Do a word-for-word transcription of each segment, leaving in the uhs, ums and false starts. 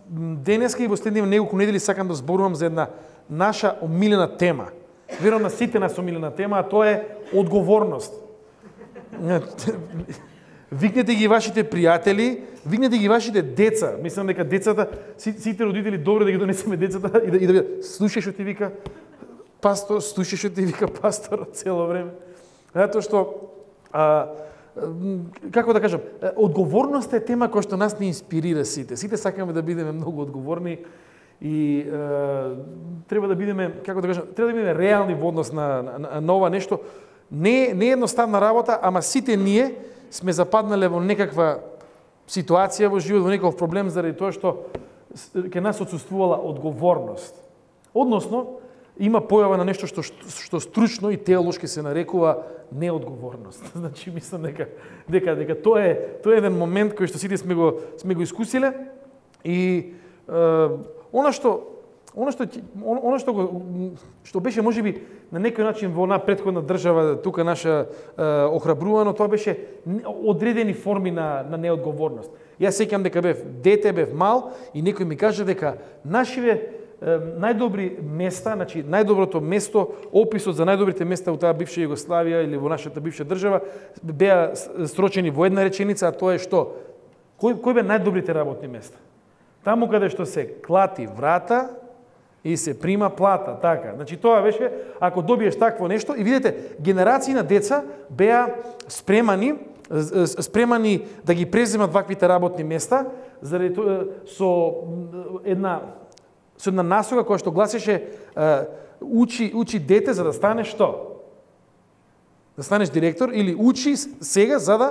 денеска и во следниве неколку недели сакам да зборувам за една наша омилена тема. Верувам на сите нас омилена тема, а тоа е одговорност. Викнете ги вашите пријатели, викнете ги вашите деца. Мислам дека децата, сите родители добро да ги донесеме децата и да, и да слушаш што ти вика пастор, слушаш што ти вика пастор цело време. Затоа што а, како да кажам, одговорноста е тема која што нас не инспирира сите. Сите сакаме да бидеме многу одговорни и е, треба да бидеме, како да кажам, треба да бидеме реални во однос на, на, на ова нешто. Не, не е едноставна работа, ама сите ние сме западнале во некаква ситуација во живот, во некаков проблем заради тоа што ке нас отсуствувала одговорност. Односно, има појава на нешто што, што стручно и теолошки се нарекува неодговорност. Значи, мислам дека, дека, дека тоа е, тоа е еден момент кој што сите сме го, сме го искусиле и е, Она што, она што, она што, го, што беше можеби на некој начин во една претходна држава, тука наша е, охрабрувано, тоа беше одредени форми на, на неодговорност. Јас сеќам дека бев дете, бев мал и некој ми кажа дека нашиве е, најдобри места, значи најдоброто место, описот за најдобрите места во таа бивша Југославија или во нашата бивша држава беа срочени во една реченица, а тоа е што? Кој, кој бе најдобрите работни места? Таму каде што се клати врата и се прима плата, така. Значи тоа беше, ако добиеш такво нешто, и видите, генерации на деца беа спремани, спремани да ги преземат ваквите работни места, заради тоа со една со една насока која што гласеше учи учи дете за да станеш што? Да станеш директор или учи сега за да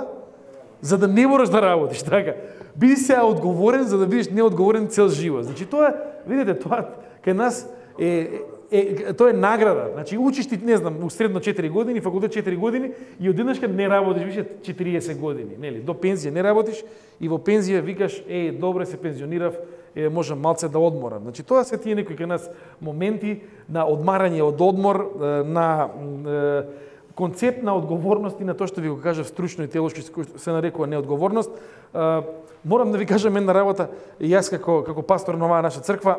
за да не мораш да работиш, така. Биди сега одговорен за да бидеш неодговорен цел живот. Значи тоа, видите, тоа кај нас е, е, е тоа е награда. Значи учиш ти, не знам, у средно четири години, факултет четири години и одеднашка не работиш више четириесет години, нели? До пензија не работиш и во пензија викаш, е, добре се пензионирав, е, можам малце да одморам. Значи тоа се тие некои кај нас моменти на одмарање од одмор, на концепт на одговорност и на тоа што ви го кажав стручно и теолошки се нарекува неодговорност. Морам да ви кажам една работа, и јас како како пастор на оваа наша црква,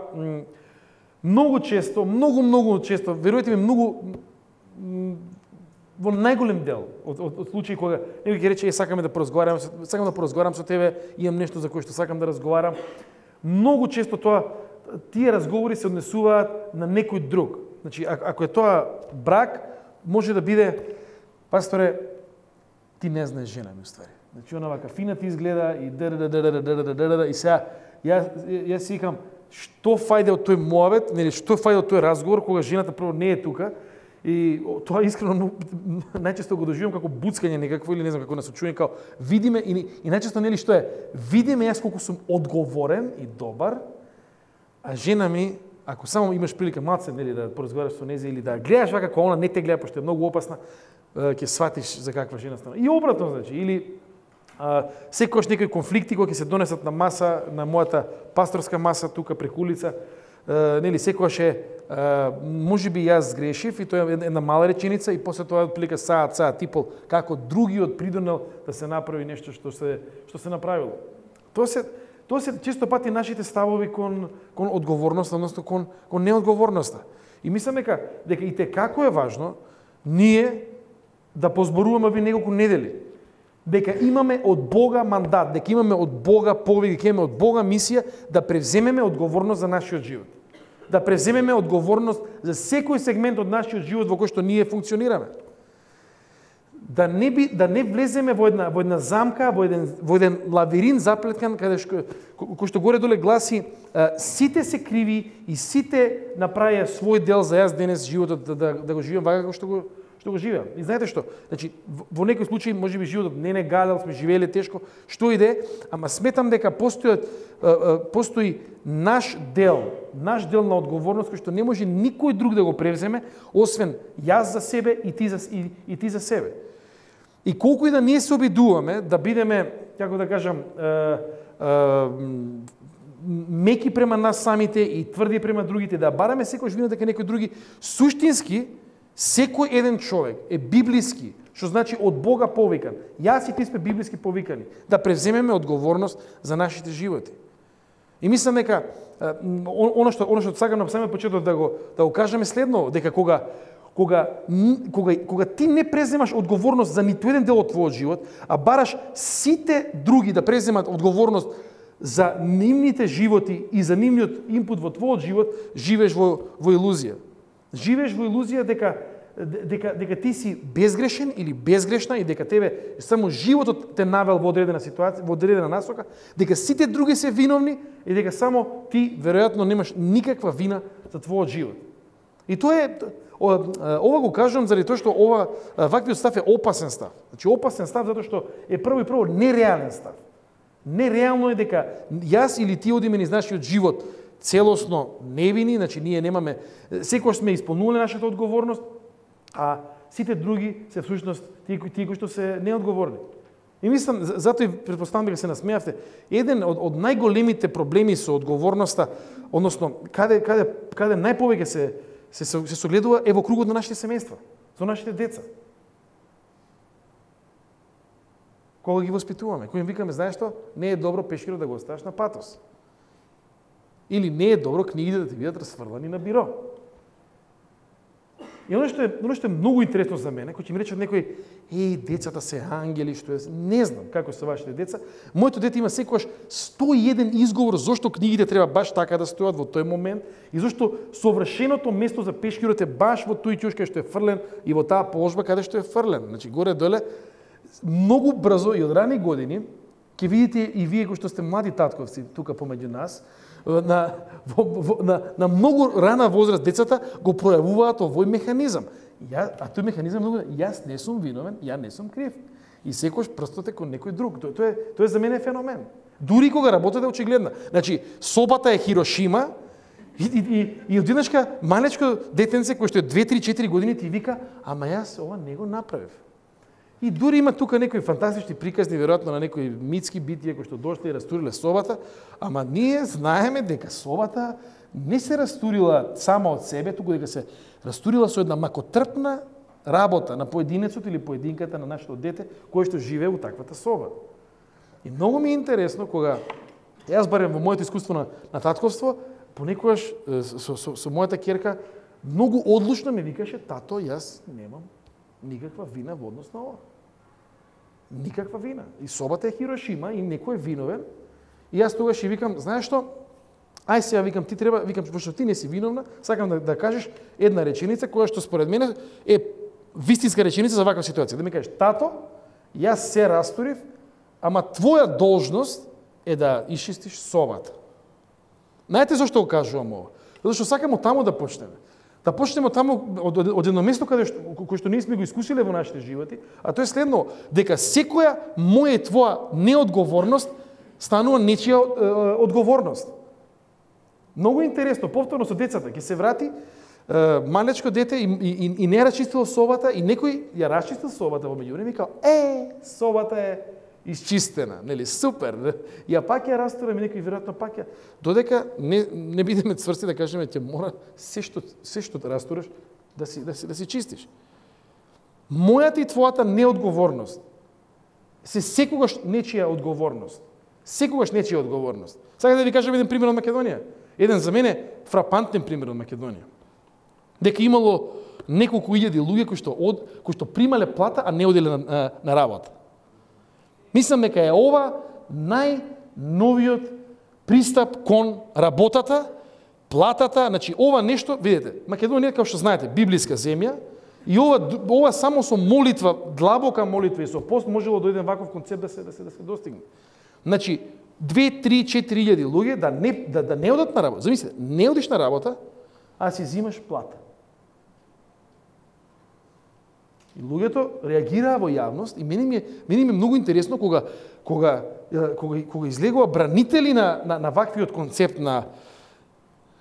многу често, многу многу често, верујте ми, многу во најголем дел од, од, од случаи кога некој ќе рече, е, сакаме да поразговарам, сакам да поразговарам со тебе, имам нешто за кое што сакам да разговарам. Многу често тоа тие разговори се однесуваат на некој друг. Значи, ако е тоа брак, може да биде, пасторе, ти не знаеш жена ми уствари. Значи, она вака фина ти изгледа и др-др-др-др-др-др-др-др, и сега, јас, јас си викам, што фајде од тој муавет, нели, што фајде од тој разговор, кога жената прво не е тука, и тоа искрено најчесто го доживам како буцкање некакво, или не знам како насочување, као видиме, и, и најчесто, нели, што е, видиме јас колку сум одговорен и добар, а жена ми, ако само имаш прилика малце, нели, да поразговараш со незе или да гледаш вака како она не те гледа, пошто е многу опасна, ќе сватиш за каква жена стана. И обратно, значи, или а, секогаш некои конфликти кои ќе се донесат на маса, на мојата пасторска маса тука преку улица, а, нели, секогаш е, можеби јас сгрешив, и тоа е една мала реченица, и после тоа отплика саат, саат, типол, како другиот придонел да се направи нешто што се, што се направило. Тоа се Тоа се често пати нашите ставови кон, кон одговорноста, односно кон, кон неодговорноста. И мислам дека, дека и те како е важно ние да позборуваме ви неколку недели. Дека имаме од Бога мандат, дека имаме од Бога повик, дека имаме од Бога мисија да превземеме одговорност за нашиот живот. Да превземеме одговорност за секој сегмент од нашиот живот во кој што ние функционираме. Да не би да не влеземе во една во една замка, во еден во еден лавиринт заплеткан каде што кој што горе доле гласи сите се криви и сите направија свој дел за јас денес животот да, да, да го живеам вака како што го што го живеам. И знаете што? Значи во некој случај можеби животот не не гадал, сме живееле тешко, што иде, ама сметам дека постојат постои наш дел, наш дел на одговорност кој што не може никој друг да го превземе освен јас за себе и ти за и, и ти за себе. И колку и да ние се обидуваме да бидеме, како да кажам, е, е, меки према нас самите и тврди према другите, да бараме секој вино дека некој други, суштински, секој еден човек е библиски, што значи од Бога повикан. Јас и ти сме библиски повикани, да превземеме одговорност за нашите животи. И мислам дека оно што оно што сакам на самиот почеток да го да го кажеме следно, дека кога кога кога кога ти не преземаш одговорност за ниту еден дел од твојот живот, а бараш сите други да преземат одговорност за нивните животи и за нивниот инпут во твојот живот, живееш во во илузија. Живееш во илузија дека дека дека ти си безгрешен или безгрешна и дека тебе само животот те навел во одредена ситуација, во одредена насока, дека сите други се виновни и дека само ти веројатно немаш никаква вина за твојот живот. И тоа е ова го кажувам заради тоа што ова ваквиот став е опасен став. Значи опасен став затоа што е прво и прво нереален став. Нереално е дека јас или ти одиме низ нашиот живот целосно невини, значи ние немаме, секогаш сме исполнувале нашата одговорност, а сите други се всушност тие тие кои што се неодговорни. И мислам, затоа и претпоставам дека се насмеавте, еден од, од најголемите проблеми со одговорноста, односно каде каде каде најповеќе се се се согледува е во кругот на нашите семејства, со нашите деца. Кога ги воспитуваме, кога им викаме, знаеш што, не е добро пешкирот да го оставиш на патос. Или не е добро книгите да ти бидат расфрлани на биро. И оно што е, оно што е многу интересно за мене, кој ќе ми рече некој, еј, децата се ангели, што е, не знам како се вашите деца. Моето дете има секогаш сто и еден изговор зошто книгите треба баш така да стојат во тој момент и зошто совршеното место за пешкирот е баш во тој ќош кај што е фрлен и во таа положба каде што е фрлен. Значи горе доле многу брзо и од рани години ќе видите и вие кои што сте млади татковци тука помеѓу нас, на, во, во, на, на многу рана возраст децата го пројавуваат овој механизам. Ја, а тој механизам многу, јас не сум виновен, ја не сум крив. И секојаш прстот е кон некој друг. Тоа, тоа, е, тоа е за мене феномен. Дури кога работата е очигледна. Значи, собата е Хирошима и, и, и, и одеднашка малечко детенце кој што е две, три, четири години ти вика, ама јас ова не го направив. И дури има тука некои фантастични приказни, веројатно на некои митски битија кои што дошле и растуриле собата, ама ние знаеме дека собата не се растурила само од себе, туку дека се растурила со една макотрпна работа на поединецот или поединката на нашето дете кој што живее во таквата соба. И многу ми е интересно кога јас барем во моето искуство на, на татковство, понекогаш со, со, со мојата ќерка многу одлучно ми викаше, тато, јас немам никаква вина во однос на ова. Никаква вина. И собата е Хирошима и некој е виновен. И јас тогаш и викам, знаеш што? Ај сега викам ти треба, викам пошто ти не си виновна, сакам да, да кажеш една реченица која што според мене е вистинска реченица за ваква ситуација. Да ми кажеш, тато, јас се растурив, ама твоја должност е да исчистиш собата. Знаете зашто го кажувам ова? Затоа што сакам од таму да почнеме. Да почнеме таму од, од, од едно место каде што, кој што ние сме го искусиле во нашите животи, а тоа е следно, дека секоја моја и твоја неодговорност станува нечија е, одговорност. Многу интересно, повторно со децата, ќе се врати е, малечко дете и, и, и не расчистило собата и некој ја расчистил собата во меѓувреме и вика, е, собата е исчистена, нели, супер. Ја пак ја растураме, некој веројатно пак ја, додека не не бидеме цврсти да кажеме ќе мора се што се што да растураш да си да си да си чистиш. Мојата и твојата неодговорност се секогаш нечија одговорност. Секогаш нечија одговорност. Сакам да ви кажам еден пример од Македонија. Еден за мене фрапантен пример од Македонија. Дека имало неколку илјади луѓе кои што од кои што примале плата, а не оделе на, на, на работа. Мислам дека е ова најновиот пристап кон работата, платата, значи ова нешто, видите, Македонија, како што знаете, библиска земја, и ова ова само со молитва, длабока молитва и со пост можело да дојде ваков концепт да се да се да се достигне. Значи две, три, четири илјади луѓе да не да, да не одат на работа. Замислете, не одиш на работа, а си зимаш плата. И луѓето реагираа во јавност и мене ми е, мене ми е многу интересно кога кога кога кога излегува бранители на на, на ваквиот концепт на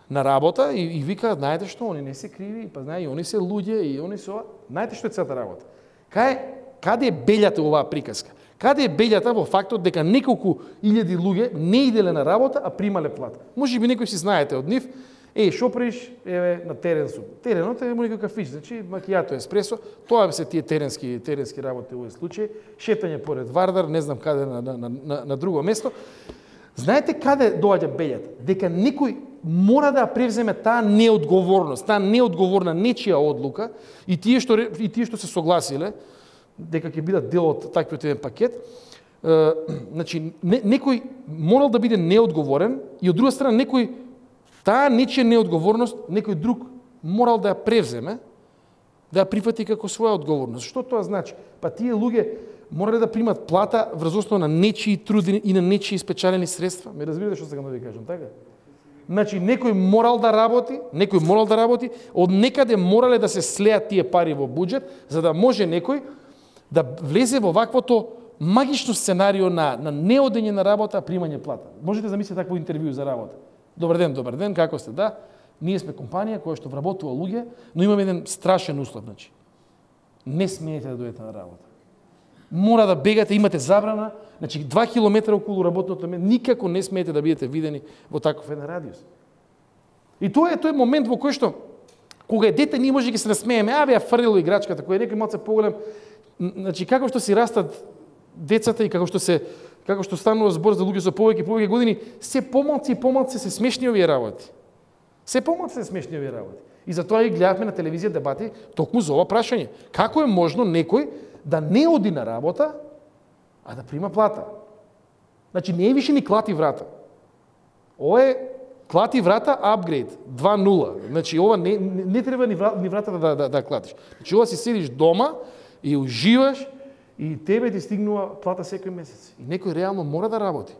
на работа и, и викаат, знаете што, они не се криви, па знае, и они се луѓе, и они се ова. Знаете што е целата работа? Кај каде е белјата оваа приказка? Каде е белјата во фактот дека неколку илјади луѓе не иделе на работа, а примале плата? Може би некој си знаете од нив. Е, шо приш, еве, на терен сум. Теренот е некој кафич, значи макијато, еспресо, тоа се тие теренски теренски работи во овој случај, шетање поред Вардар, не знам каде на на на, на друго место. Знаете каде доаѓа белјата? Дека некој мора да превземе таа неодговорност, таа неодговорна нечија одлука и тие што и тие што се согласиле дека ќе бидат дел од таквиот еден пакет, е, значи не, некој морал да биде неодговорен и од друга страна некој таа нечија неодговорност некој друг морал да ја превземе, да ја прифати како своја одговорност. Што тоа значи? Па тие луѓе морале да примат плата врз основа на нечии труд и на нечии спечалени средства. Ме разбирате што сакам да ви кажам, така? Значи некој морал да работи, некој морал да работи, од некаде морале да се слеат тие пари во буџет, за да може некој да влезе во ваквото магично сценарио на на неодење на работа, примање плата. Можете да замислите такво интервју за работа. Добар ден, добар ден, како сте? Да. Ние сме компанија која што вработува луѓе, но имаме еден страшен услов, значи. Не смеете да дојдете на работа. Мора да бегате, имате забрана, значи два километра околу работното место, никако не смеете да бидете видени во таков еден радиус. И тоа е тој момент во кој што кога е дете ние може да се насмееме, а бе ја фрлило играчката, кој е некој малце поголем, значи како што си растат децата и како што се како што станува збор за луѓе со повеќе и повеќе години, се помалци и помалци се смешни овие работи. Се помалци се смешни овие работи. И затоа и гледавме на телевизија дебати токму за ова прашање. Како е можно некој да не оди на работа, а да прима плата? Значи не е више ни клати врата. Ова е клати врата апгрейд два нула. Значи ова не, не, не треба ни, врата, ни вратата да, да, да клатиш. Значи ова си седиш дома и уживаш и тебе ти стигнува плата секој месец. И некој реално мора да работи.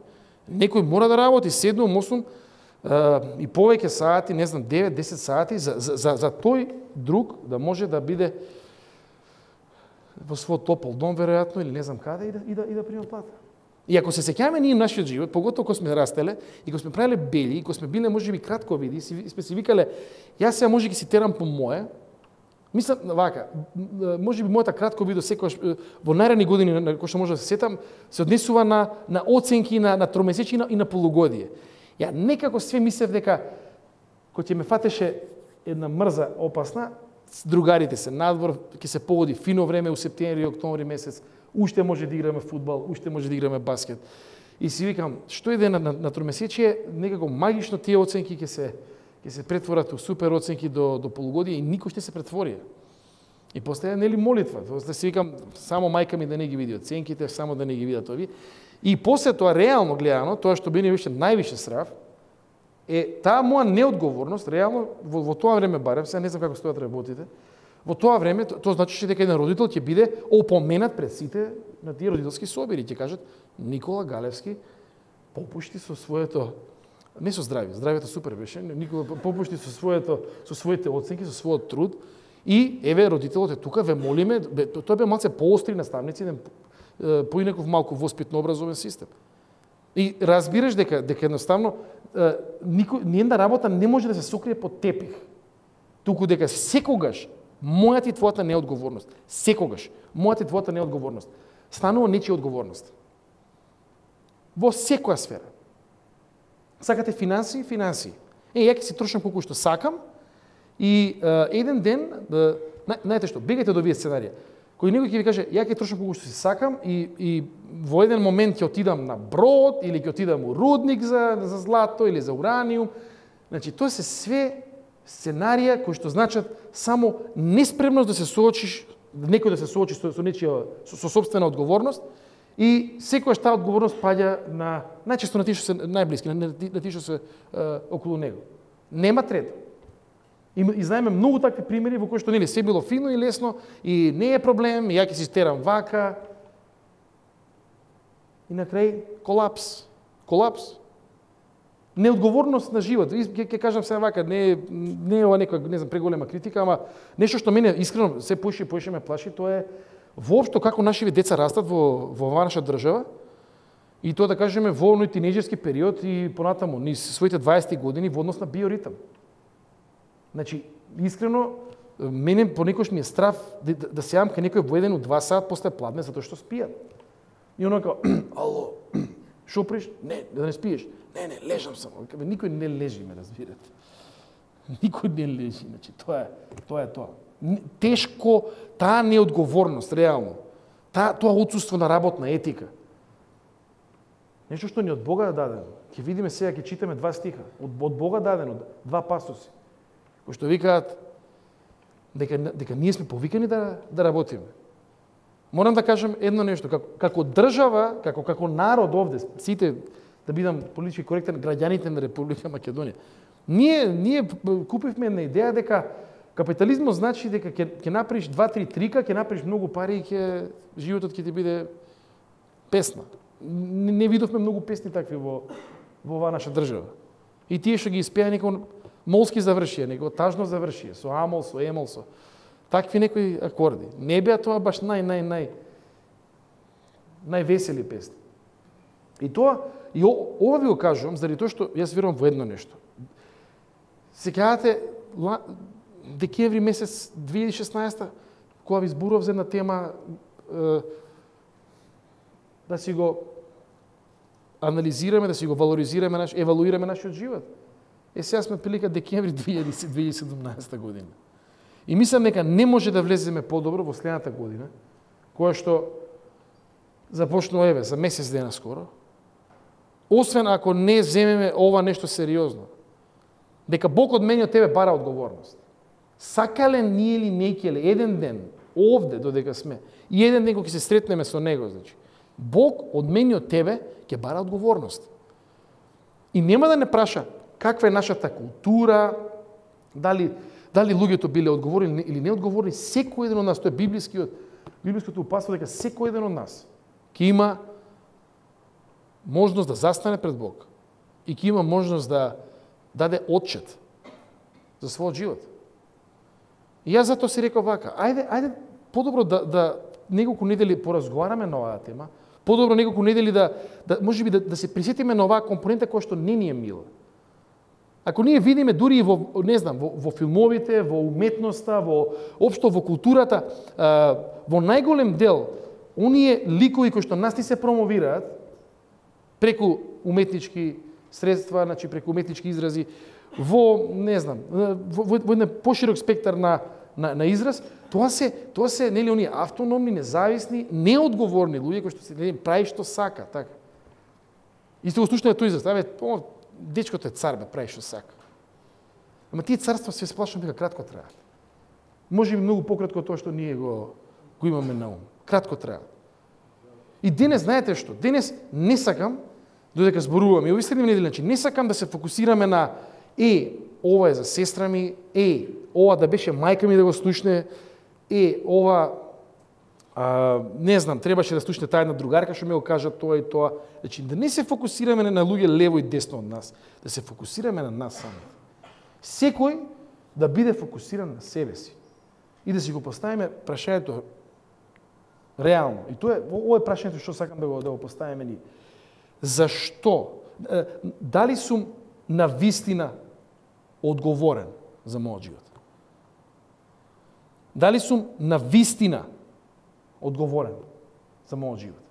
Некој мора да работи седум, осум uh, и повеќе сати, не знам, девет, десет сати за, за, за, за тој друг да може да биде во свој топол дом, веројатно, или не знам каде, и да, и да, и да прима плата. И ако се сеќаваме ние нашиот живот, поготово кога сме растеле, и кога сме правеле бели, и кога сме биле можеби кратковиди, и сме си викале, јас сега може ги си терам по мое, мислам, вака, можеби мојата кратковидо секогаш во наредни години, на кој што може да се сетам, се однесува на, на оценки, на, на тромесечи и на полугодие. Ја некако све мислев дека, кој ќе ме фатеше една мрза опасна, другарите се надвор, ќе се погоди фино време у септември и октомври месец, уште може да играме фудбал, уште може да играме баскет. И си викам, што иде на, на, на тромесечие, некако магично тие оценки ќе се ќе се претворат у супер оценки до до полугодие и никој ще се претвори. И после нели молитва, после си викам само мајка ми да не ги види оценките, само да не ги видат овие. И после тоа реално гледано, тоа што мене више највише срав е таа моја неодговорност, реално во, во тоа време барем, сега не знам како стојат работите. Во тоа време тоа значи дека еден родител ќе биде опоменат пред сите на тие родителски собири, ќе кажат Никола Галевски попушти со своето не со здравје, здравјето супер беше, Никола попушти со своето со своите оценки, со својот труд и еве родителот е тука, ве молиме, тоа бе малце поостри наставници, поинаков малку воспитно образовен систем. И разбираш дека дека едноставно никој ниједна работа не може да се сокрие под тепих. Туку дека секогаш мојата и твојата неодговорност, секогаш мојата и твојата неодговорност станува нечија одговорност. Во секоја сфера. Сакате финансии, финансии. Е, ја ќе си трошам колку што сакам и е, еден ден, е, знаете што, бегајте до овие сценарија. Кој некој ќе ви каже, ја ќе трошам колку што си сакам и, и во еден момент ќе отидам на брод или ќе отидам у рудник за, за злато или за ураниум. Значи, тоа се све сценарија кои што значат само неспремност да се соочиш, некој да се соочи со, со нечија, со, со собствена одговорност, и секојаш таа одговорност паѓа на најчесто на тие што се најблиски, на, на тие што се е, околу него. Нема трето. И, и знаеме многу такви примери во кои што нели се било фино и лесно и не е проблем, ја ќе си стерам вака. И на крај колапс. Колапс. Неодговорност на живот. Ќе ќе кажам сега вака, не не е ова некоја, не знам, преголема критика, ама нешто што мене искрено се поише и поише ме плаши, тоа е воопшто како нашиве деца растат во во наша држава и тоа да кажеме во оној тинејџерски период и понатаму низ своите дваесет години во однос на биоритам. Значи, искрено мене понекогаш ми е страф да, да, да се јавам кај некој во еден у два сат после пладне затоа што спијат. И оно како ало, шо приш? Не, да не спиеш. Не, не, лежам само. Никој не лежи, ме разбирате. Никој не лежи, значи тоа е, тоа е тоа. Тешко таа неодговорност, реално. Таа, тоа отсуство на работна етика. Нешто што ни од Бога дадено. Ќе видиме сега, ќе читаме два стиха. Од, од Бога дадено, два пастоси. Кои што викаат дека, дека ние сме повикани да, да работиме. Морам да кажам едно нешто. Како, како држава, како, како народ овде, сите, да бидам политички коректен, граѓаните на Република Македонија, ние, ние купивме една идеја дека капитализмот значи дека ќе, ќе направиш два-три трика, ќе направиш многу пари и ќе, животот ќе ти биде песна. Не, не видовме многу песни такви во, во оваа наша држава. И тие што ги испеа некој молски завршија, некој тажно завршија, со амол, со емол, со такви некои акорди. Не беа тоа баш нај, нај, нај, највесели песни. И тоа, и ова ви го кажувам, заради тоа што јас верувам во едно нешто. Сеќавате, декември месец две илјади и шеснаесета, кога ви зборував за една тема, е, да си го анализираме, да си го валоризираме, наш, евалуираме нашиот живот. Е, сега сме прилика декември две илјади и седумнаесета година. И мислам дека не може да влеземе подобро во следната година, која што започнува еве за месец дена скоро, освен ако не земеме ова нешто сериозно. Дека Бог од мене од тебе бара одговорност. Сакале ние или некеле еден ден овде додека сме и еден ден кога ќе се сретнеме со него, значи Бог од мене и од тебе ќе бара одговорност. И нема да не праша каква е нашата култура, дали дали луѓето биле одговорни или не одговорни, секој еден од нас, тоа е библискиот библиското упатство дека секој еден од нас ќе има можност да застане пред Бог и ќе има можност да даде отчет за својот живот. И јас затоа си реков вака, ајде, ајде подобро да, да неколку недели поразговараме на оваа тема, подобро неколку недели да, да можеби да, да се присетиме на оваа компонента која што не ни е мила. Ако ние видиме дури и во, не знам, во, во филмовите, во уметноста, во општо во културата, во најголем дел, оние ликови кои што нас ти се промовираат преку уметнички средства, значи преку уметнички изрази, во, не знам, во, во, во еден поширок спектар на, на, на израз, тоа се, тоа се, нели, оние автономни, независни, неодговорни луѓе кои што се, нели, прави што сака, така. И сте го слушнали тој израз, абе, дечкото е цар, бе, прави што сака. Ама тие царства се сплашам дека кратко траат. Може би многу пократко тоа што ние го, го имаме на ум. Кратко траат. И денес, знаете што? Денес не сакам, додека зборувам, и овие следни недели, значи, не сакам да се фокусираме на е, ова е за сестра ми, е, ова да беше мајка ми да го слушне, е, ова, а, не знам, требаше да слушне таа една другарка што ми го кажа тоа и тоа. Значи, да не се фокусираме на луѓе лево и десно од нас, да се фокусираме на нас самите. Секој да биде фокусиран на себе си и да си го поставиме прашањето реално. И тоа е, ова е прашањето што сакам да го, да го поставиме ние. Зашто? Дали сум на вистина одговорен за мојот живот? Дали сум на вистина одговорен за мојот живот?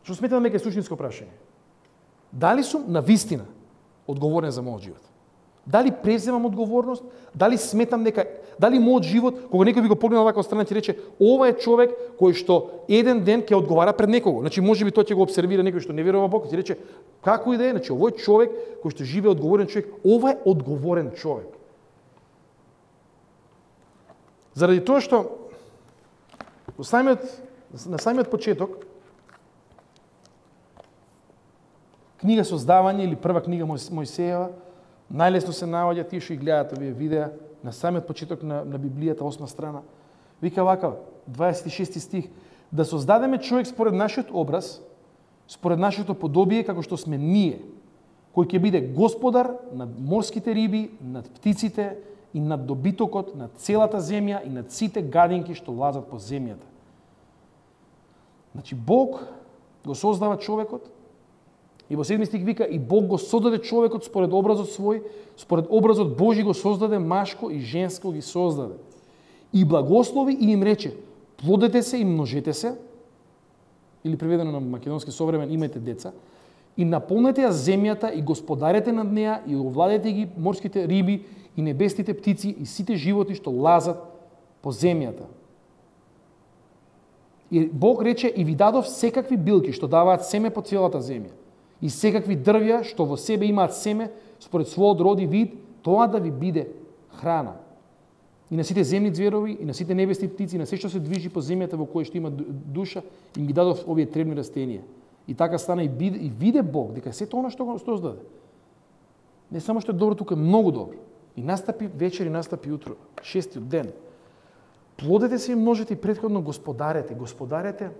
Што сметам дека е суштинско прашање. Дали сум на вистина одговорен за мојот живот? Дали преземам одговорност? Дали сметам дека, дали мојот живот, кога некој би го погледнал вака од страна, ќе рече, ова е човек кој што еден ден ќе одговара пред некого. Значи, може би тој ќе го обсервира некој што не верува во Бог, ќе рече, како и да е, значи, овој човек кој што живее одговорен човек, ова е одговорен човек. Заради тоа што на самиот, на самиот почеток книга Создавање или прва книга Мојсеева, најлесно се наоѓа, тие што и гледаат овие видеа, на самиот почеток на, на Библијата, осма страна. Вика вака, дваесет и шести стих, да создадеме човек според нашиот образ, според нашето подобие, како што сме ние, кој ќе биде господар над морските риби, над птиците и над добитокот, над целата земја и над сите гадинки што лазат по земјата. Значи, Бог го создава човекот, и во седми стих вика, и Бог го создаде човекот според образот свој, според образот Божи го создаде, машко и женско ги создаде. И благослови и им рече, плодете се и множете се, или преведено на македонски современ, имајте деца, и наполнете ја земјата и господарете над неа и овладете ги морските риби и небесните птици и сите животи што лазат по земјата. И Бог рече, и ви дадов секакви билки што даваат семе по целата земја. и секакви дрвја што во себе имаат семе според својот род и вид, тоа да ви биде храна. И на сите земни зверови, и на сите небесни птици, и на се што се движи по земјата во која што има душа, им ги дадов овие требни растенија. И така стана и, биде, и виде Бог дека сето она што го создаде. Не само што е добро, тука е многу добро. И настапи вечер и настапи утро, шестиот ден. Плодете се и множете и претходно господарете, господарете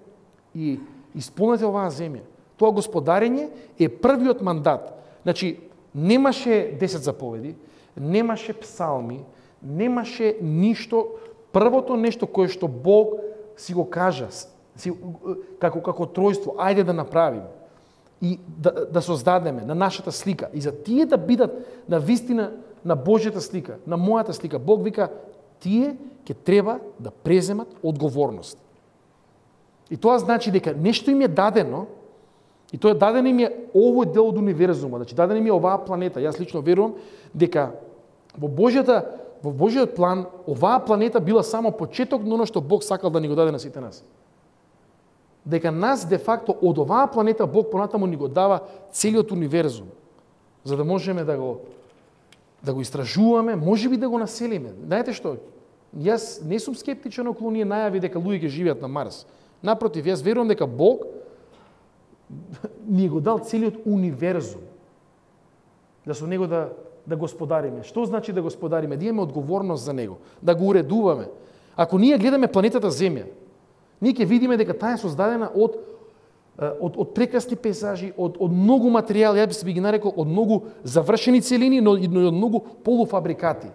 и исполнете оваа земја. Тоа господарење е првиот мандат. Значи, немаше десет заповеди, немаше псалми, немаше ништо, првото нешто кое што Бог си го кажа, си, како, како тројство, ајде да направиме и да, да создадеме на нашата слика. И за тие да бидат на вистина на Божјата слика, на мојата слика, Бог вика, тие ќе треба да преземат одговорност. И тоа значи дека нешто им е дадено, и тоа дадено им е овој дел од универзумот, значи дадено им е оваа планета. Јас лично верувам дека во Божјата во Божјиот план оваа планета била само почеток на оно што Бог сакал да ни го даде на сите нас. Дека нас де факто од оваа планета Бог понатаму ни го дава целиот универзум, за да можеме да го да го истражуваме, можеби да го населиме. Знаете што? Јас не сум скептичен околу ние најави дека луѓе ќе живеат на Марс. Напротив, јас верувам дека Бог ни го дал целиот универзум. Да со него да да господариме. Што значи да господариме? Да имаме одговорност за него, да го уредуваме. Ако ние гледаме планетата Земја, ние ќе видиме дека таа е создадена од од од прекрасни пейзажи, од од многу материјали, ја би ги нарекол од многу завршени целини, но и од многу полуфабрикати.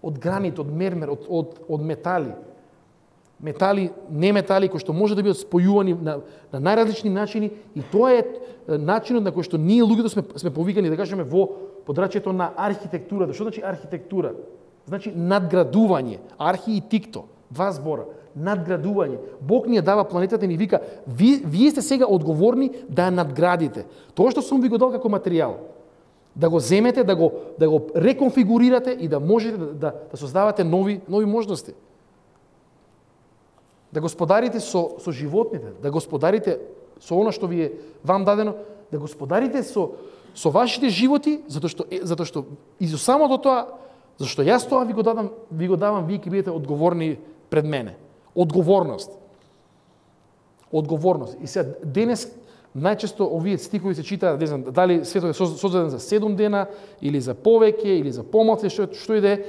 Од гранит, од мермер, од од од метали. Метали, не метали кои што може да бидат спојувани на на најразлични начини, и тоа е начинот на кој што ние луѓето сме сме повикани да кажеме во подрачјето на архитектурата. Што значи архитектура? Значи надградување. Архи и тикто, два збора. Надградување. Бог ни ја дава планетата и ни вика, ви, вие сте сега одговорни да ја надградите. Тоа што сум ви го дал како материјал, да го земете, да го да го реконфигурирате и да можете да да, да создавате нови нови можности. Да господарите со со животните, да господарите со она што ви е вам дадено, да господарите со со вашите животи, затоа што затоа што и за самото тоа, зашто јас тоа ви го дадам, ви го давам, вие ќе бидете одговорни пред мене. Одговорност. Одговорност. И сега денес најчесто овие стихови се читаат, не знам, дали светот е создаден за седум дена или за повеќе или за помалку, што што и да е.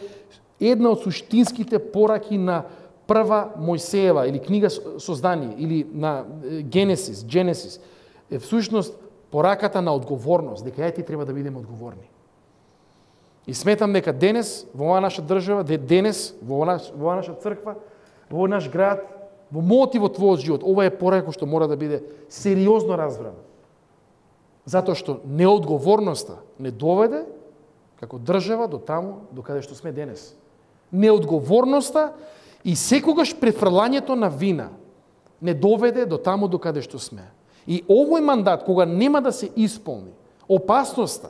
Една од суштинските пораки на прва Мојсеева или книга Создание или на Генесис, Генесис е всушност пораката на одговорност, дека ја ти треба да бидеме одговорни. И сметам дека денес во оваа наша држава, денес во оваа во наша црква, во овој наш град, во мојот и во твојот живот, ова е порака што мора да биде сериозно разбрана. Затоа што неодговорноста не доведе како држава до таму до каде што сме денес. Неодговорноста и секогаш префрлањето на вина не доведе до таму до каде што сме. И овој мандат, кога нема да се исполни, опасноста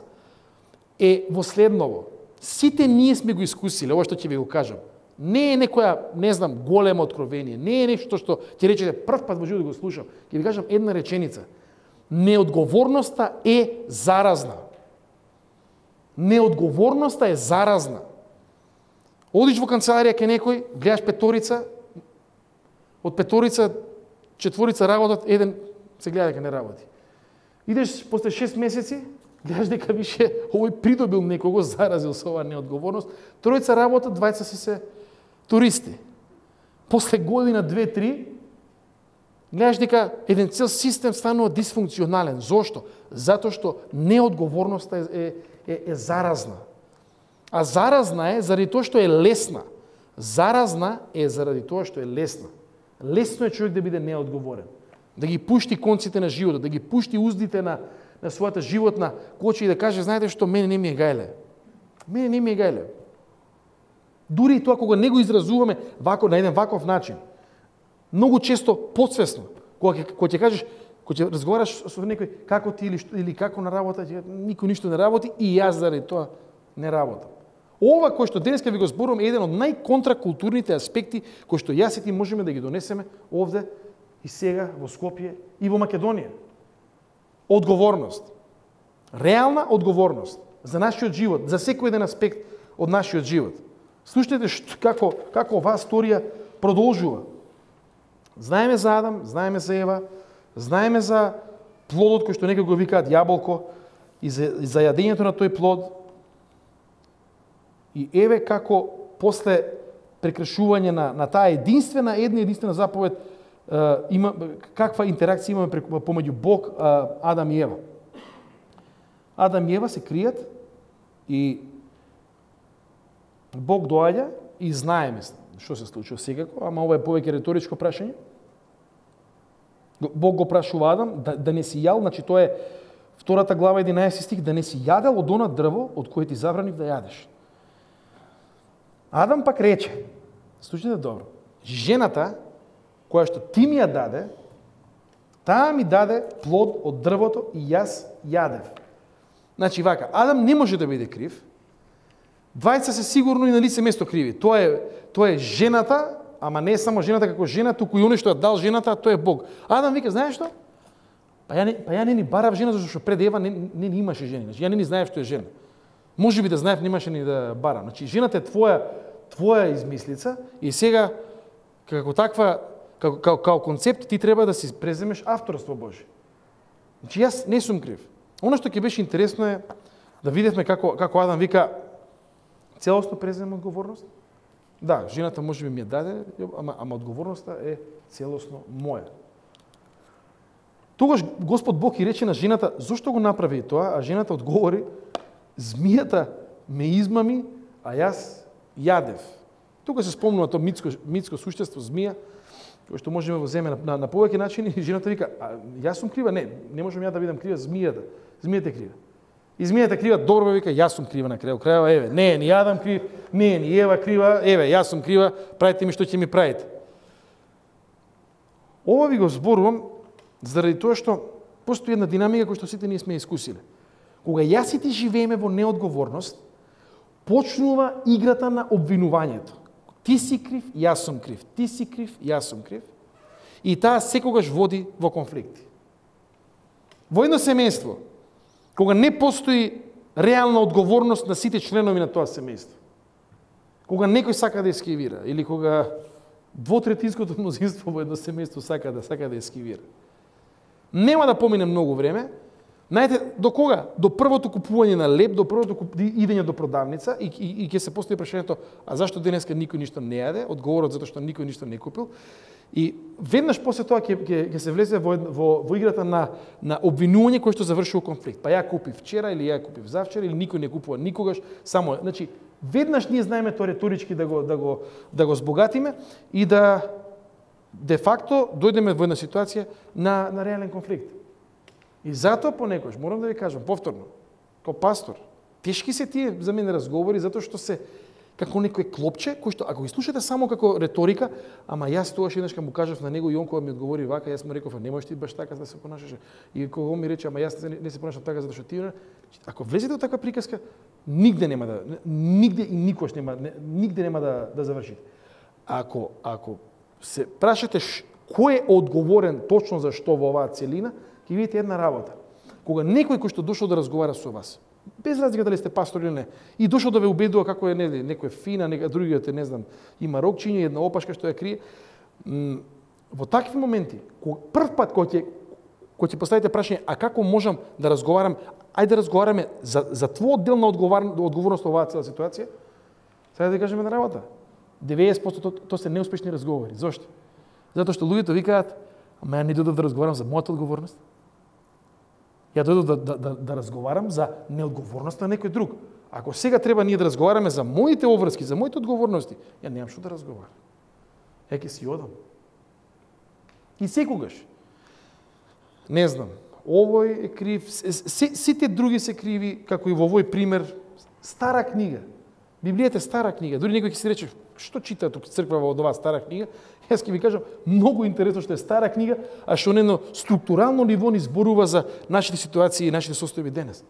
е во следново. Сите ние сме го искусиле, ова што ќе ви го кажам. Не е некоја, не знам, големо откровение, не е нешто што ќе речете прв пат во живот да го слушам. Ќе ви кажам една реченица. Неодговорноста е заразна. Неодговорноста е заразна. Одиш во канцеларија ке некој, гледаш петорица, од петорица четворица работат, еден се гледа дека не работи. Идеш после шест месеци, гледаш дека више овој придобил некого, заразил со оваа неодговорност, тројца работат, двајца се се туристи. После година, две, три, гледаш дека еден цел систем станува дисфункционален. Зошто? Затоа што неодговорноста е, е, е заразна. А заразна е заради тоа што е лесна. Заразна е заради тоа што е лесна. Лесно е човек да биде неодговорен. Да ги пушти конците на животот, да ги пушти уздите на, на својата животна коча и да каже, знаете што, мене не ми е гајле. Мене не ми е гајле. Дури и тоа кога не го изразуваме вако, на еден ваков начин. Многу често подсвесно. Кога кога ќе кажеш, кога ќе разговараш со некој како ти или, или како на работа, никој ништо не работи и јас заради тоа не работам. Ова кој што денеска ви го зборувам е еден од најконтракултурните аспекти кои што јас и ти можеме да ги донесеме овде и сега во Скопје и во Македонија. Одговорност. Реална одговорност за нашиот живот, за секој еден аспект од нашиот живот. Слушнете што, како, како оваа историја продолжува. Знаеме за Адам, знаеме за Ева, знаеме за плодот кој што некој го викаат јаболко и за, и за јадењето на тој плод. И еве како после прекршување на, на таа единствена, една единствена заповед, е, има, каква интеракција имаме помеѓу Бог, е, Адам и Ева. Адам и Ева се кријат и Бог доаѓа и знаеме што се случува секако, ама ова е повеќе реторичко прашање. Бог го прашува Адам да, да не си јал, значи тоа е втората глава единаесети стих, да не си јадел од она дрво од кое ти забранив да јадеш. Адам пак рече, слушайте добро, жената која што ти ми ја даде, таа ми даде плод од дрвото и јас јадев. Значи вака, Адам не може да биде крив, двајца се сигурно и на лице место криви. Тоа е, тоа е жената, ама не е само жената како жена, туку и оној што ја дал жената, тоа е Бог. Адам вика, знаеш што? Па ја не, па ја не ни барав жена, зашто што пред Ева не, не, не имаше жени. Значи, ја не ни знаев што е жена. Може би да знаев, немаше ни да барам. Значи, жената е твоја, твоја измислица и сега, како таква, како, како, како концепт, ти треба да си преземеш авторство Божие. Значи, јас не сум крив. Оно што ќе беше интересно е да видевме како, како Адам вика, целосно преземам одговорност. Да, жената може би ми ја даде, ама, ама одговорноста е целосно моја. Тогаш Господ Бог и рече на жената, зошто го направи тоа, а жената одговори, змијата ме измами, а јас јадев. Тука се спомнува тоа митско, митско суштество, змија, кој што можеме во земе на, на, на повеќе начини, и жената вика, а јас сум крива? Не, не можам ја да бидам крива, змијата. Змијата е крива. И змијата крива, добро вика, јас сум крива на крајот крајава, еве, не, ни Адам крив, не, ни Ева крива, еве, јас сум крива, правите ми што ќе ми правите. Ова ви го зборувам заради тоа што постои една динамика која што сите ние сме искусиле. Кога јас и ти живееме во неодговорност, почнува играта на обвинувањето. Ти си крив, јас сум крив. Ти си крив, јас сум крив. И таа секогаш води во конфликти. Во едно семејство, кога не постои реална одговорност на сите членови на тоа семејство, кога некој сака да ескивира, или кога двотретинското мнозинство во едно семејство сака да сака да ескивира, нема да помине многу време. Знаете, до кога? До првото купување на леб, до првото куп... идење до продавница и, и, и ќе се постои прашањето, а зашто денеска никој ништо не јаде? Одговорот затоа што никој ништо не купил. И веднаш после тоа ќе, ќе, ќе се влезе во, во, во играта на, на обвинување кој што завршува конфликт. Па ја купив вчера или ја купив завчера или никој не купува никогаш, само, значи, веднаш ние знаеме тоа реторички да го, да го, да го збогатиме и да де факто дојдеме во една ситуација на, на реален конфликт. И затоа понекогаш, морам да ви кажам повторно, како пастор, тешки се тие за мене разговори, затоа што се како некој клопче, кој што, ако ги слушате само како реторика, ама јас тогаш еднаш му кажав на него и он кога ми одговори вака, јас му реков, не можеш ти баш така да се понашаш. И кога он ми рече, ама јас не, не се понашам така затоа што ти, ако влезете во таква приказка, нигде нема да, нигде и никош нема, нигде нема да, да завршите. Ако, ако се прашате кој е одговорен точно за што во оваа целина, ќе видите една работа. Кога некој кој што дошол да разговара со вас, без разлика дали сте пастор или не, и дошол да ве убедува како е нели, некој фина, некој другиот е, не знам, има рокчиња, една опашка што ја крие, во такви моменти, кога прв пат кој ќе кој ќе поставите прашање, а како можам да разговарам, ајде да разговараме за за твој дел на одговорност во оваа цела ситуација, сега да кажеме на работа. деветдесет проценти то, то се неуспешни разговори. Зошто? Затоа што луѓето викаат, ама ја не дојдов да разговарам за мојата одговорност. Ја дојдов да, да, да, да разговарам за неодговорноста на некој друг. Ако сега треба ние да разговараме за моите обврски, за моите одговорности, ја немам што да разговарам. Ја ќе си одам. И секогаш, не знам, овој е крив, сите други се криви, како и во овој пример, стара книга. Библијата е стара книга. Дури некој ќе си рече, што чита тук црквава од оваа стара книга? Јас ќе ви кажам, многу интересно што е стара книга, а што на едно структурално ниво ни зборува за нашите ситуации и нашите состојби денес.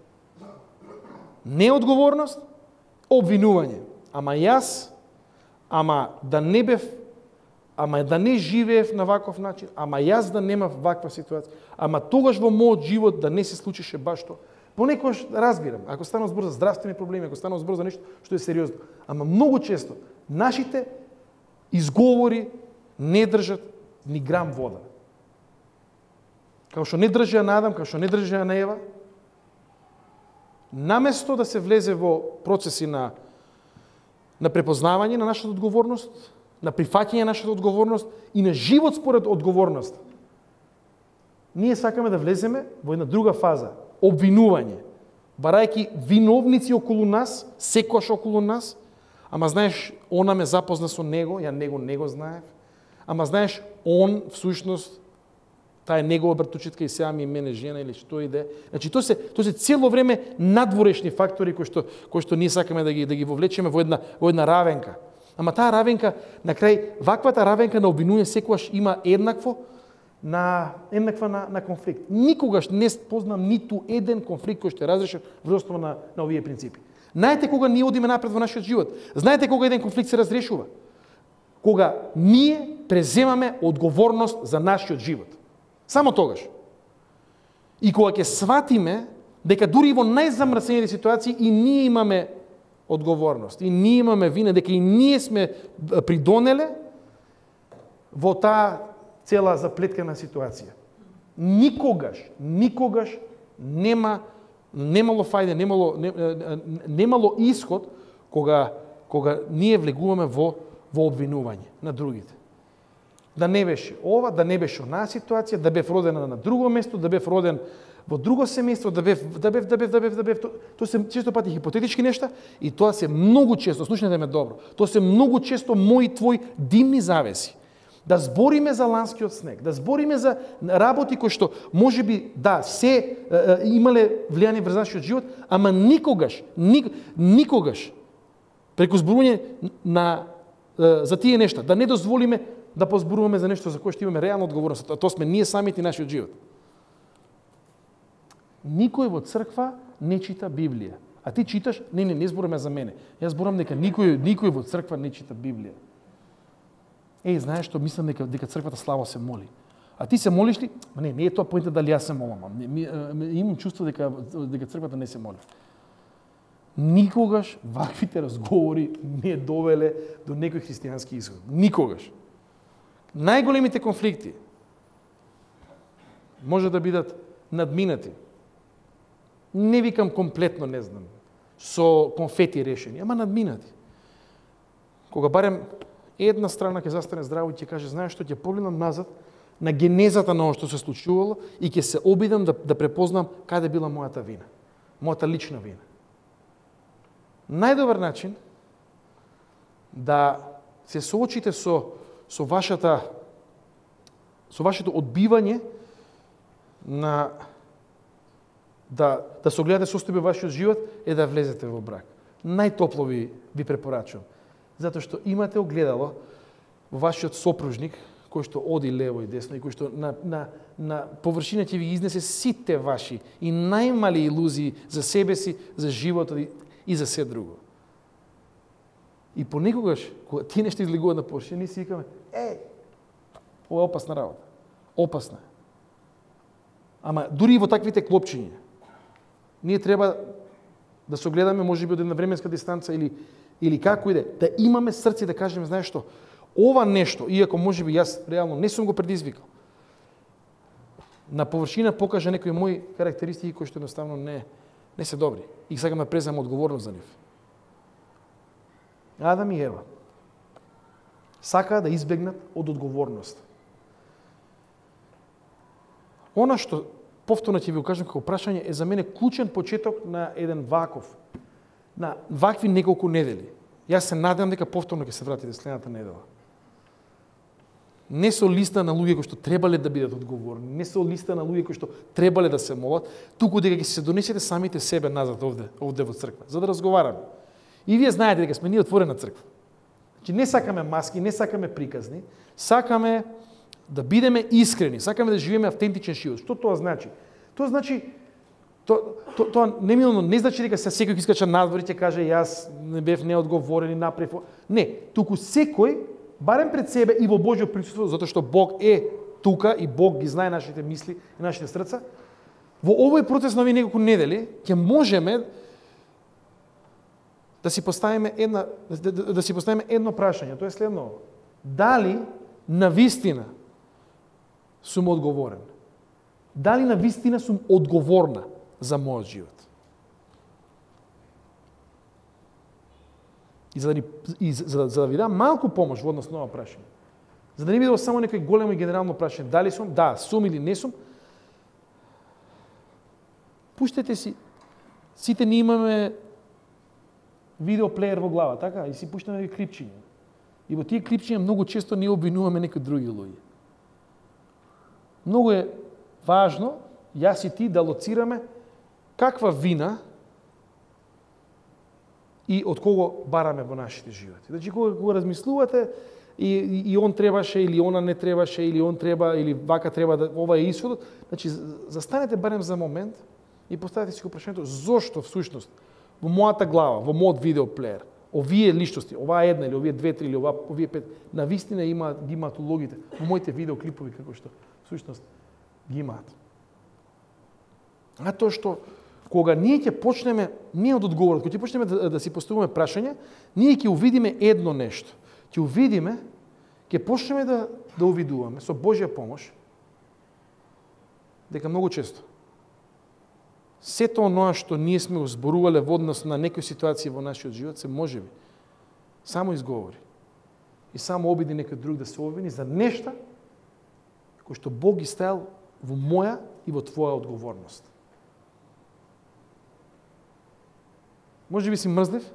Неодговорност, обвинување. Ама јас, ама да не бев, ама да не живеев на ваков начин, ама јас да немав ваква ситуација, ама тогаш во мојот живот да не се случише баш тоа. Понекогаш разбирам, ако станува збор за здравствени проблеми, ако станува збор за нешто што е сериозно, ама многу често нашите изговори не држат ни грам вода. Како што не држија на Адам, како што не држија на Ева, наместо да се влезе во процеси на на препознавање на нашата одговорност, на прифаќање на нашата одговорност и на живот според одговорност, ние сакаме да влеземе во една друга фаза, обвинување, барајќи виновници околу нас, секојаш околу нас, ама знаеш, она ме запозна со него, ја него не го знаев, ама знаеш, он всушност таа е негова братучетка и сега ми е мене жена или што иде. Значи тоа се тоа се цело време надворешни фактори кои што кои што ние сакаме да ги да ги вовлечеме во една во една равенка. Ама таа равенка на крај ваквата равенка на обвинување секогаш има еднакво на еднаква на, на конфликт. Никогаш не познам ниту еден конфликт кој што е разрешен врз основа на на овие принципи. Знаете кога ние одиме напред во нашиот живот? Знаете кога еден конфликт се разрешува? Кога ние преземаме одговорност за нашиот живот. Само тогаш. И кога ќе сватиме дека дури и во најзамрсените ситуации и ние имаме одговорност, и ние имаме вина, дека и ние сме придонеле во таа цела заплеткана ситуација. Никогаш, никогаш нема немало фајде, немало немало исход кога кога ние влегуваме во во обвинување на другите. Да не беше ова, да не беше онаа ситуација, да бев роден на друго место, да бев роден во друго семејство, да бев, да бев, да бев, да бев, да бев, тоа се често пати хипотетички нешта и тоа се многу често, слушнете ме добро, тоа се многу често мои твои димни завеси. Да збориме за ланскиот снег, да збориме за работи кои што можеби да се е, е, имале влијание врз нашиот живот, ама никогаш, ник, никогаш преку зборување на е, за тие нешта да не дозволиме да позборуваме за нешто за кое што имаме реална одговорност, а тоа сме ние самите и нашиот живот. Никој во црква не чита Библија. А ти читаш, не, не, не збораме за мене. Јас зборам дека никој, никој во црква не чита Библија. Еј, знаеш што, мислам дека, дека црквата славо се моли. А ти се молиш ли? Не, не е тоа поинта дали јас се молам. Имам чувство дека, дека црквата не се моли. Никогаш ваквите разговори не довеле до некој христијански исход. Никогаш. Најголемите конфликти може да бидат надминати. Не викам комплетно, не знам, со конфети решени, ама надминати. Кога барем една страна ќе застане здраво и ќе каже, знаеш што, ќе погледнам назад на генезата на оно што се случувало и ќе се обидам да, да препознам каде била мојата вина, мојата лична вина. Најдобар начин да се соочите со со вашата со вашето одбивање на да да се огледате состојба вашиот живот е да влезете во брак. Најтопло ви ви препорачувам, затоа што имате огледало во вашиот сопружник кој што оди лево и десно и кој што на на на површина ќе ви изнесе сите ваши и најмали илузии за себе си, за животот и, и за се друго. И понекогаш, кога тие нешто излегуваат на површина, ние си викаме, е, ова е опасна работа. Опасна е. Ама дури и во таквите клопчиња, ние треба да се огледаме, можеби од една временска дистанца или или како иде, да имаме срце да кажеме, знаеш што, ова нешто, иако можеби јас реално не сум го предизвикал, на површина покажа некои мои карактеристики кои што едноставно не не се добри и сакам да преземам одговорност за нив. Адам и Ева сакаа да избегнат од одговорност. Она што повторно ќе ви го кажам како прашање е за мене клучен почеток на еден ваков, на вакви неколку недели. Јас се надевам дека повторно ќе се вратите следната недела. Не со листа на луѓе кои што требале да бидат одговорни, не со листа на луѓе кои што требале да се молат, туку дека ќе се донесете самите себе назад овде, овде во црква, за да разговараме. И вие знаете дека сме ние отворена црква. Значи не сакаме маски, не сакаме приказни, сакаме да бидеме искрени, сакаме да живееме автентичен живот. Што тоа значи? Тоа значи Тоа то, то, немилно не значи дека се секој ќе искача надвор и ќе каже јас не бев неодговорен и направив. Не, туку секој барем пред себе и во Божјо присуство, затоа што Бог е тука и Бог ги знае нашите мисли и нашите срца, во овој процес на овие неколку недели ќе можеме да си поставиме една да, да, да си поставиме едно прашање, тоа е следно: дали на вистина сум одговорен? Дали на вистина сум одговорна за мојот живот? И за да, ни, и за, за да ви дам малку помош во однос на ова прашање, за да не биде само некој големо и генерално прашање, дали сум, да, сум или не сум, пуштете си, сите ни имаме видеоплеер во глава, така? И си пуштаме клипчиња. И во тие клипчиња многу често ни обвинуваме некои други луѓе. Многу е важно, јас и ти, да лоцираме каква вина и од кого бараме во нашите животи. Значи, кога, кога размислувате, и, и, и он требаше, или она не требаше, или он треба, или вака треба, да, ова е исходот, значи, застанете барем за момент и поставете си го прашањето, зошто всушност во мојата глава, во мојот видеоплеер, овие личности, оваа една или овие две, три или оваа, овие пет, на вистина има, ги имаат улогите во моите видеоклипови, како што всушност ги имаат. А тоа што кога ние ќе почнеме, не од одговорот, кога ќе почнеме да, да си поставуваме прашање, ние ќе увидиме едно нешто. Ќе увидиме, ќе почнеме да, да увидуваме со Божја помош, дека многу често сето оноа што ние сме го зборувале во однос на некои ситуации во нашиот живот се можеби само изговори и само обиди некој друг да се обвини за нешта кои што Бог ги ставил во моја и во твоја одговорност. Може би си мрзлив,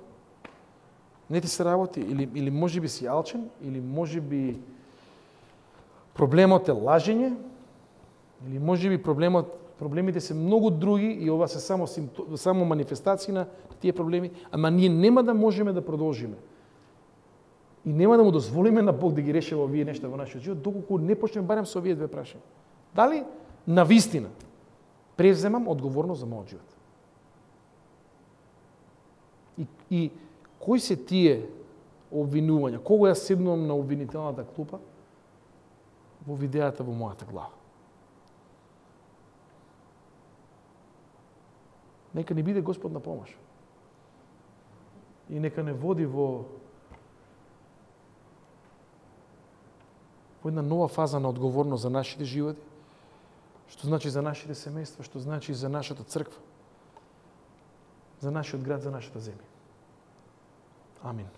не ти се работи, или, или може би си алчен, или може би проблемот е лажење, или може би проблемот проблемите се многу други и ова се само симптом, само манифестации на тие проблеми, ама ние нема да можеме да продолжиме. И нема да му дозволиме на Бог да ги реши овие нешта во нашиот живот, доколку не почнеме барем со овие две прашања. Дали на вистина преземам одговорност за мојот живот? И, и кои се тие обвинувања? Кого јас седнувам на обвинителната клупа во видеата во мојата глава? Нека ни биде Господ на помош. И нека не води во во една нова фаза на одговорност за нашите животи, што значи за нашите семејства, што значи за нашата црква, за нашиот град, за нашата земја. Амин.